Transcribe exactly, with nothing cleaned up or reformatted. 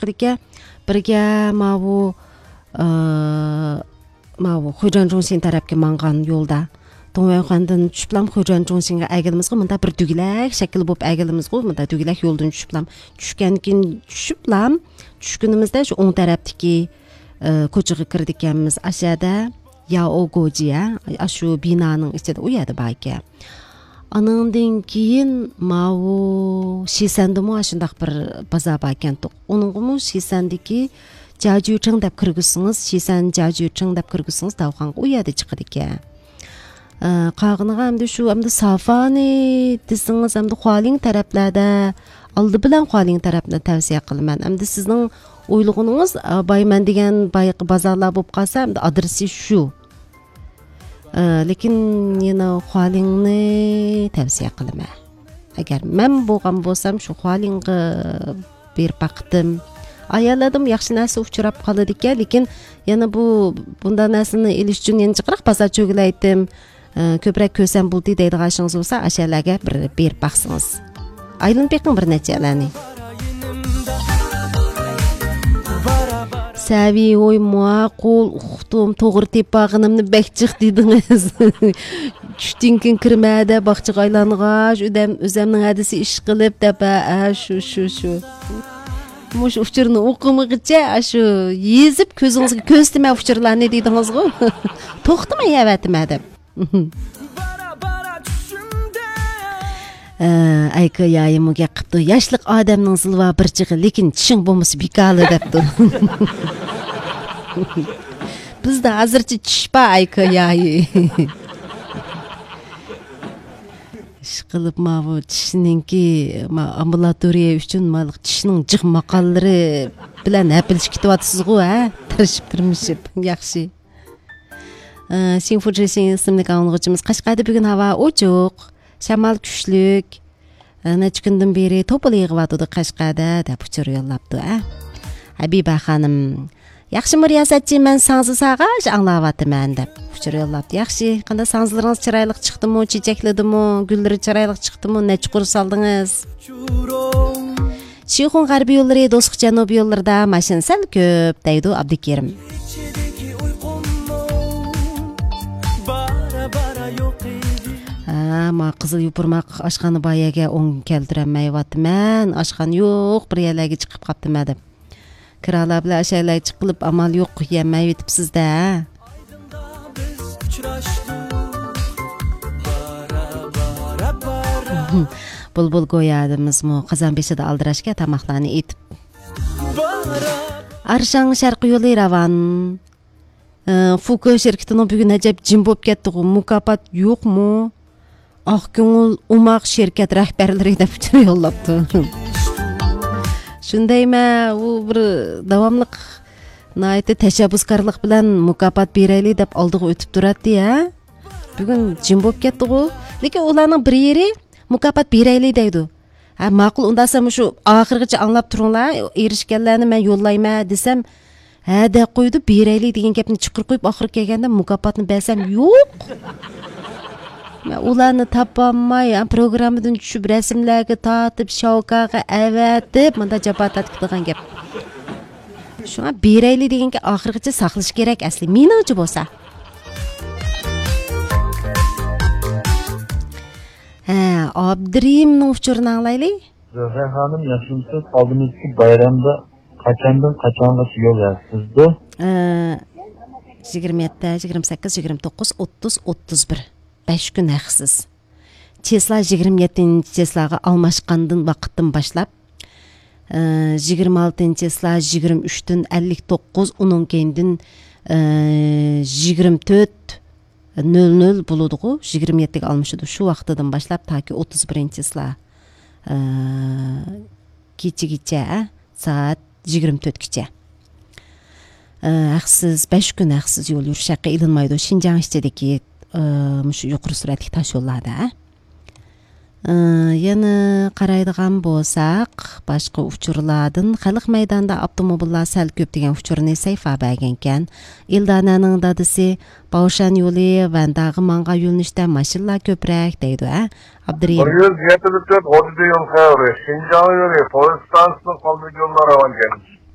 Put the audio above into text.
چىقىدىكەن. بىرگە ماۋۇ، ئى، ماۋۇ خۇيجۇەن جۇڭشىن تەرەپكە ماڭغان يولدا، دۇڭۋەنخۇەندىن چۈشۈپلام خۇيجۇەن جۇڭشىنغا ئەگىلىمىزغۇ، مۇندا بىر دۈگىلەك شەكىل بولۇپ ئەگىلىمىزغۇ، مۇندا دۈگىلەك يولدىن چۈشۈپلام. چۈشكەندىن كېيىن چۈشۈپلام، چۈشكىنىمىزدە شۇ ئوڭ تەرەپتىكى، ئى، كوچىغا كىرىدىكەنمىز. ئاشەدە ياۋ گوجى، ھە، ئاشۇ بىنانىڭ ئىچىدە، ئۇ يەردە بار ئىكەن. ئانىڭدىن كېيىن ماۋۇ شىسەندىمۇ ئاشۇنداق بىر بازار بار ئىكەن. ئۇنىڭغىمۇ شىسەندىكى جاجۈچىڭ دەپ كىرگۈزسىڭىز، شىسەن جاجۈچىڭ دەپ كىرگۈزسىڭىز، داۋخانغا ئۇ يەردە چىقىدىكەن. ئە، قالغىنىغا ئەمدى شۇ، ئەمدى سافانى دېسىڭىز، ئەمدى خۇالىڭ تەرەپلەردە، ئالدى بىلەن خۇالىڭ تەرەپنى تەۋسىيە قىلىمەن. ئەمدى سىزنىڭ ئويلىغىنىڭىز، ئە، بايمەن دېگەن بايىقى بازارلار بولۇپ قالسا، ئەمدى ئادرېسى شۇ. ئە، لېكىن يەنە خۇالىڭنى تەۋسىيە قىلىمەن. ئەگەر مەن بولغان بولسام، شۇ خۇالىڭغا بېرىپ باقتىم. ئاياللاردىمۇ ياخشى نەرسە ئۇچراپ قالىدىكەن، لېكىن يەنە بۇ، بۇنداق نەرسىنى ئېلىش ئۈچۈن يەنە جىقراق بازار چۆگىلەيتتىم. ئە، كۆپرەك كۆرسەم بولدى دەيدىغان ئىشىڭىز بولسا، ئاشەلەرگە بىر بېرىپ باقسىڭىز. ئايلىنىپ بېقىڭ بىر نەچچە يەرلەرنى. سەۋىي، ھوي، ماقۇل، ئۇقتۇم، توغرا تېپىپ ئالغىنىمنى بەك جىق دېدىڭىز. چۈشتىن كېيىن كىرمە دەپ باغچىغا ئايلانغاچ، ئۆزەم-، ئۆزەمنىڭ ھەدىسى ئىش قىلىپ دەپ، ھە، ھە، شۇ، شۇ، شۇ. مۇشۇ ئۇچۇرنى ئوقۇمىغىچە، ئاشۇ يېزىپ كۆزىڭىزگە كۆرسىتىمەن ئۇچۇرلارنى دېدىڭىزغۇ. توختىماي يەۋەتىمەن دەپ. ئە، ئەيكا يايىمۇ گەپ قىپتۇ، ياشلىق ئادەمنىڭ زىلۋا بىر چېغى، لېكىن چىشىڭ بولمىسا بىكالى دەپتۇ. بىزدە ھازىرچە چىش بار، ئەيكا يايى. ئىشقىلىپ ماۋۇ چىشنىڭكى، ما-، ئامبۇلاتورىيە ئۈچۈن ماۋۇ چىشنىڭ جىق ماقاللىرى بىلەن ھەپىلىشىپ كېتىۋاتىسىزغۇ، ھە؟ تىرىشىپ، تىرمىشىپ. ياخشى. ئى، شىڭفۇجى شىڭ ئىسىملىك ئاڭلىغۇچىمىز، قەشقەردە بۈگۈن ھاۋا ئوچۇق، شامال كۈچلۈك. ئى، نەچچە كۈندىن بېرى توپىلا يېغىۋاتىدۇ قەشقەردە، دەپ ئۇچۇر يوللاپتۇ، ئە. ھەبىبە خانىم، ياخشىمۇ رىياسەتچى، مەن ساڭزا ساغاچ ئاڭلاۋاتىمەن، دەپ ئۇچۇر يوللاپتۇ. ياخشى، قانداق ساڭزىلىرىڭىز چىرايلىق چىقتىمۇ، چېچەكلىدىمۇ، گۈللىرى چىرايلىق چىقتىمۇ، نەچچە قۇر سالدىڭىز؟ شىخۇن غەربىي يوللىرى، دوسكا جەنۇبىي يوللىرىدا ماشىنا سەل كۆپ، دەيدۇ ئابدۇكېرىم. ھە، ما قىزىل يوپۇرماق ئاشخانا بار يەرگە ئوڭ كەلتۈرەلمەيۋاتىمەن. ئاشخانا يوق، بىر يەرلەرگە چىقىپ قاپتىمەن دەپ. كىرالار بىلەن ئاشۇ يەرلەرگە چىقىپ، ئامال يوق، يەلمەيۋېتىپسىز-دە. بۇلبۇل گويادىمىزمۇ قازان بېشىدا ئالدىراشكەن تاماقلارنى ئېتىپ. ئارشاڭ شەرقىي يولى راۋان. ئە، فۇكو شىركىتىنىڭ بۈگۈن ئەجەب جىم بولۇپ كەتتىغۇ، مۇكاپات يوقمۇ؟ ئاق كۆڭۈل ئوماق شىركەت رەھبەرلىرى دەپ ئۇچۇر يوللاپتۇ. شۇندايمە، ئۇ بىر داۋاملىق ناھايىتى تەشەببۇسكارلىق بىلەن مۇكاپات بېرەيلى دەپ ئالدىغا ئۆتۈپ تۇراتتى، ھە؟ بۈگۈن جىم بولۇپ كەتتىغۇ. لېكىن ئۇلارنىڭ بىر يېرى مۇكاپات بېرەيلى دەيدۇ. ھە، ماقۇل، ئۇنداقسا مۇشۇ ئاخىرغىچە ئاڭلاپ تۇرۇڭلار، ئېرىشكەنلەرنى مەن يوللايمەن دېسەم، ھە دەپ قويىدۇ، بېرەيلى دېگەن گەپنى چىقىرىپ قويۇپ، ئاخىرى كەلگەندە مۇكاپاتنى بەرسەم يوق. مەن ئۇلارنى تاپالماي، ھە، پروگراممىدىن چۈشۈپ، رەسىملەرگە تارتىپ، شاۋكاغا ئەۋەتىپ، مۇنداق جاپا تارتىپ كېتىدىغان گەپ. شۇڭا بېرەيلى دېگەنگە ئاخىرغىچە ساقلىشى كېرەك ئەسلى، مېنىڭچە بولسا. ھە، ئابدۇرېھىمنىڭ ئۇچۇرىنى ئاڭلايلى. زۆھرە خانىم، ياخشىمۇسىز؟ ئالدىمىزدىكى بايرامدا قاچاندىن قاچانغىچە يول ھەقسىزدۇ؟ ئە، يىگىرمە يەتتە، يىگىرمە سەككىز، يىگىرمە توققۇز، ئوتتۇز، ئوتتۇز بىر. بەش كۈن ھەقسىز. چېسلا يىگىرمە يەتتىنچى چېسلاغا ئالماشقاندىن ۋاقىتتىن باشلاپ، ئە، يىگىرمە ئالتىنچى چېسلا يىگىرمە ئۈچتىن ئەللىك توققۇز، ئۇنىڭ كەينىدىن، ئە، يىگىرمە تۆت نۆل نۆل بولىدىغۇ، يىگىرمە يەتتىگە ئالمىشىدۇ. شۇ ۋاقتىدىن باشلاپ تاكى ئوتتۇز بىرىنچى چېسلا، ئە، كېچىگىچە، ئە، سائەت يىگىرمە تۆتكىچە. ئە، ھەقسىز، بەش كۈن ھەقسىز يول يۈرۈش ھەققى ئېلىنمايدۇ شىنجاڭ ئىچىدىكى، ئە، مۇشۇ يۇقىرى سۈرئەتلىك تاش يوللاردا. ئە، يەنە قارايدىغان بولساق، باشقا ئۇچۇرلاردىن خەلق مەيدانىدا ئاپتوموبىللار سەل كۆپ دېگەن ئۇچۇرنى سەيفا بەرگەنكەن. ئىلدانەنىڭ دادىسى باۋشان يولى ۋەنداغا ماڭغان يۆنىلىشتە ماشىنىلار كۆپرەك دەيدۇ، ھە؟ ئابدۇرېھىم. بىر يۈز يەتتە تۆت غوجىدا يول خەۋىرى، شىنجاڭ يولى، پويىز ئىستانسىسىنىڭ ئالدىدىكى يوللار راۋان ئىكەن.